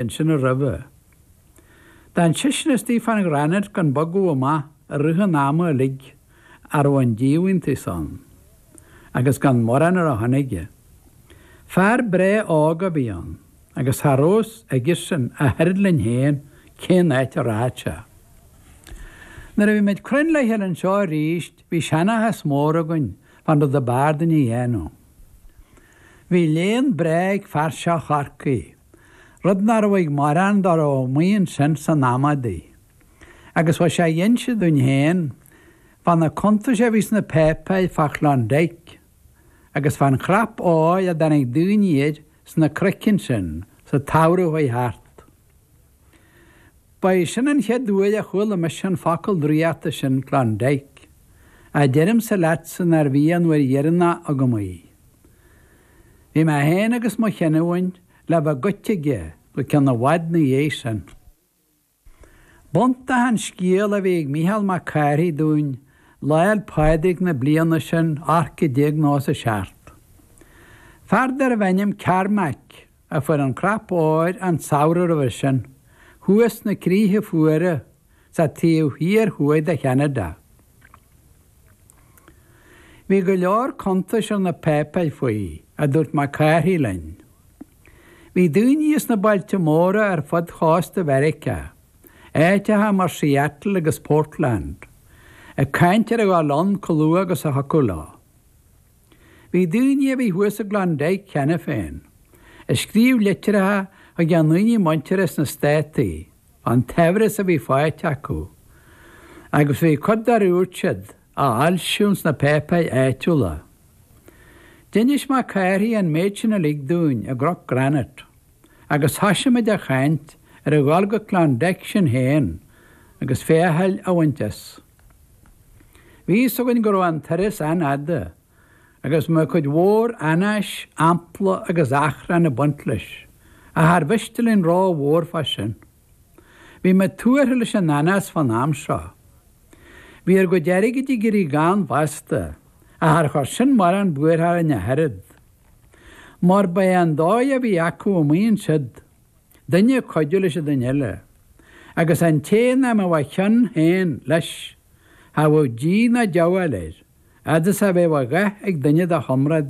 Ansin roimhe. D'fhan seisean istigh fán Ghranite gan bogadh amach i rith an ama uilig a raibh an díomhaointeas ann, agus gan morán ar a shon aige. Fear breá óg a bhí ann, agus cha raibh fhios aigesean ach oiread linn féin cén áit a rachadh sé. Nuair a bhí muid cruinn le chéile anseo arís bhí seanchas mór againn fán rud ab fhearr dúinn a dhéanamh. Bhí léann breá ag fear seo Chorcaí. rud nach raibh ag morán dá raibh amuigh ansin san am adaí. Agus bheadh sé ag inse dúinn féin fá na cuntais a bhí sna páipéir fá Chlondyke agus fán chnap óir a dtáinig daoine air sna cnoic ansin sa tsamhradh a chuaigh thart. Ba é sin an chéad uair a chuala mise an focal draíochta sin Klondike, ach deirimse leatsa nárbh í an uair dheireanach agam í. Bhí mé féin agus mo chinniúint le bheith goite aige go ceann i bhfad 'na dhiaidh sin. B'iontach an scéal a bhí ag Mícheál Mac Cárthaigh dúinn Lá 'le Pádraig na bliana sin 1897. Fear darbh ainm Carmack a fuair an cnap óir an samhradh roimhe sin, thuas sna críche fuara sa taobh thiar thuaidh de Cheanada. Bhí go leor cuntais ar na páipéir faoi, a dúirt Mac Cárthaigh linn. Bhí daoine sna bailte móra ar fud chósta Mheiriceá, áiteacha mar Seattle agus Portland, ag caint ar a dhul ann chomh luath agus a thiocfadh leo. Bhí daoine a bhí thuas i gClondyke cheana féin, ag scríobh litreacha chuig a ndaoine muinteartha sna Státaí fán tsaibhreas a bhí faighte acu, agus bhí cuid dár dhúirt siad á fhoilsiú sna páipéir áitiúla. D'inis Mac Cárthaigh an méid sin uilig dúinn i gCnoc Granite, agus thoisigh muid a chaint ar a dhul go Klondike sinn féin agus féacháil a bhaint as. Bhí fhios againn go raibh an turas an-fhada agus go mbeadh cuid mhór anáis, ampla agus achrann ag baint leis, ach char mhiste linn ró-mhór fá sin. Bhí muid tuartha leis an anás fán am seo. Bhí ár gcuid airgid ag éirí gann fosta, ach char chuir sin morán buartha orainn ach oiread. Mar ba é an dóigh a bhí acu amuigh ansiúd. duine ag cuidiú leis an duine eile, agus an té nach mbeadh a chion féin leis, cha bheadh díth ná diabhal air, fhad is a bheadh a dhath ag duine dá chomrádaithe.